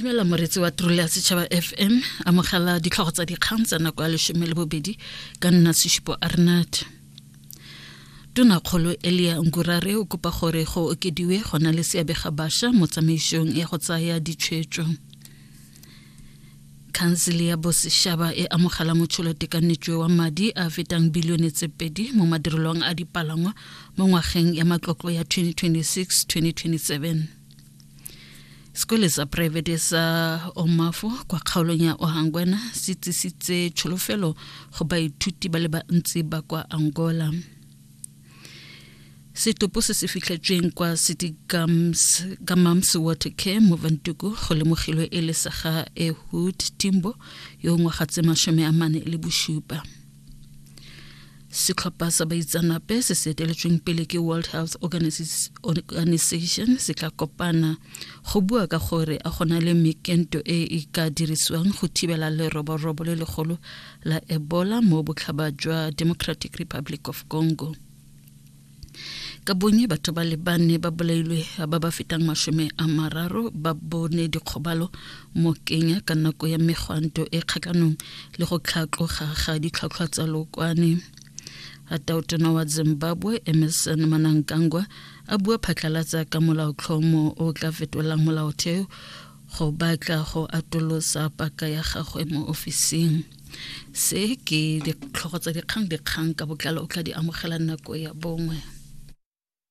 Dumela moretsi wa Trole ya Setšhaba FM, amogela ditlhogo tsa dikgang tsa nako ya leshome le bobedi ka nna Seshupo Arnat. Tonakgolo Elia Ngurare o kopa gore go okediwe go na le seabe ga bašwa mo tsamaisong ya go tsaya ditshwetso. Khansele ya Bosešaba e amogela motšholotekanetšo wa madi a fetang bilione tse pedi mo madirelong a dipalangwa mo ngwageng ya matlotlo ya 2026-2027. Sekole sa poraefete sa Omafo kwa kgaolong ya Ohangwena se tsisitse tsholofelo go baithuti ba le bantsi ba kwa Angola. Setopo se se fitlhetsweng kwa City Gams, Gamams Water Care mo Vantuku go lemogilwe e le sa ga Ehud Timbo yo ngwaga tse 47. Setlhopha sa baitsanape se se eteletsweng pele ke World Health Organization se tla kopana go bua ka gore a gona le mekento e e ka dirisiwang go thibela leroborobo le legolo la Ebola mo botlhaba jwa Democratic Republic of Congo. Ka bonye batho ba le bane ba bolailwe ba ba fetang 30 ba bone dikgobalo mo Kenya ka nako ya megwanto e kgatlhanong le go tlhatloga ga ditlhwatlhwa tsa lokwane. Tautona wa Zimbabwe Emmerson Mnangagwa a bua phatlhalatsa ka molaotlhomo o tla fetolang molaotheo go batla go atolosa paka ya gagwe mo ofising. Se ke ditlhogo tsa dikgang dikgang ka botlalo o tla di amogela nako ya bongwe.